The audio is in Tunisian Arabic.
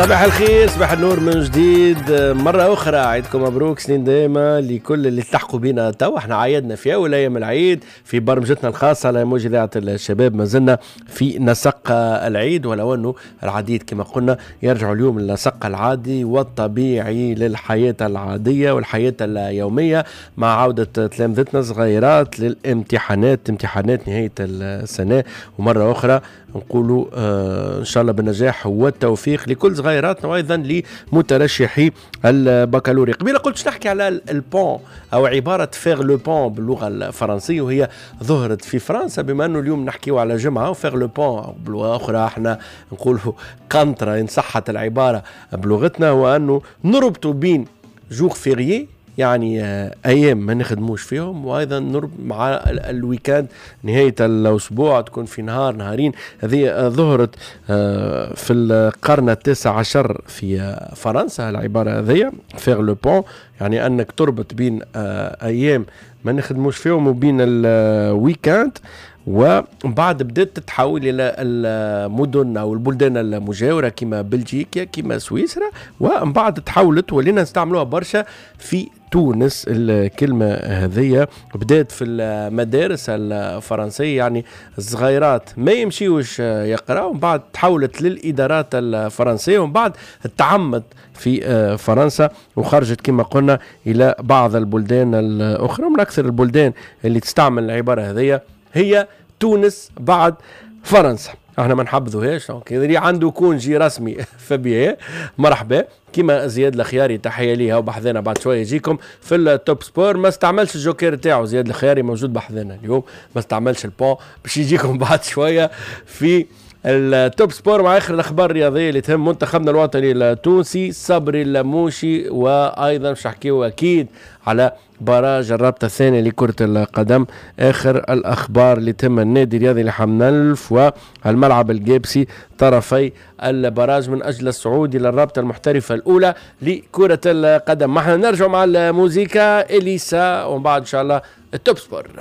صباح الخير، صباح النور من جديد مرة أخرى. عيدكم مبروك، سنين دايمة لكل اللي التحقوا بنا تو. احنا عيدنا في أول أيام العيد في برمجتنا الخاصة على موج إذاعة الشباب. ما زلنا في نسق العيد، ولو أنه العديد كما قلنا يرجعوا اليوم للنسق العادي والطبيعي للحياة العادية والحياة اليومية مع عودة تلامذتنا صغيرات للامتحانات، امتحانات نهاية السنة. ومرة أخرى نقولوا إن شاء الله بالنجاح والتوفيق لكل صغيراتنا وأيضا لمترشحي البكالوريا. قبيلة قلت نحكي على ال pont أو عبارة faire le pont باللغة الفرنسية، وهي ظهرت في فرنسا. بما أنه اليوم نحكيو على جمعة و faire le pont بلغة أخرى احنا نقولوا قنطرة إن صحت العبارة بلغتنا، هو أنه نربطوا بين jours fériés، يعني ايام ما نخدموش فيهم، وايضا نربط مع ال week-end نهاية الاسبوع تكون في نهار نهارين. هذه ظهرت في القرن التاسع عشر في فرنسا العبارة هذه faire le pont، يعني انك تربط بين ايام ما نخدموش فيهم وبين ال week-end. وبعد بدأت تتحول الى المدن او البلدان المجاورة كما بلجيكا كما سويسرا، ومن بعد تحولت ولينا نستعملوها برشا في تونس. الكلمة هذية بدأت في المدارس الفرنسية، يعني الصغيرات ما يمشيوش يقرأوا، ومن بعد تحولت للإدارات الفرنسية، ومن بعد تعمت في فرنسا وخرجت كما قلنا إلى بعض البلدان الأخرى. ومن أكثر البلدان اللي تستعمل العبارة هذية هي تونس بعد فرنسا. احنا ما نحبذوهاش، donc اللي عنده congé رسمي فبيه مرحبا. كيما زياد الخياري، تحية ليه وبحذنا بعد شوية يجيكم في ال Top Sport. ما استعملش الجوكير تاعو زياد الخياري، موجود بحذنا اليوم، ما استعملش ال pont باش يجيكم بعد شوية في ال Top Sport مع اخر الاخبار الرياضية اللي تهم منتخبنا الوطني التونسي، صبري اللموشي، وايضا باش نحكيو اكيد على barrage الرابطة الثانية لكرة القدم، اخر الاخبار اللي تهم النادي الرياضي لحمام الأنف والملعب القابسي طرفي ال barrage من اجل الصعود الى الرابطة المحترفه الاولى لكرة القدم. احنا نرجع مع الموزيكا اليسا ومن بعد ان شاء الله ال Top Sport.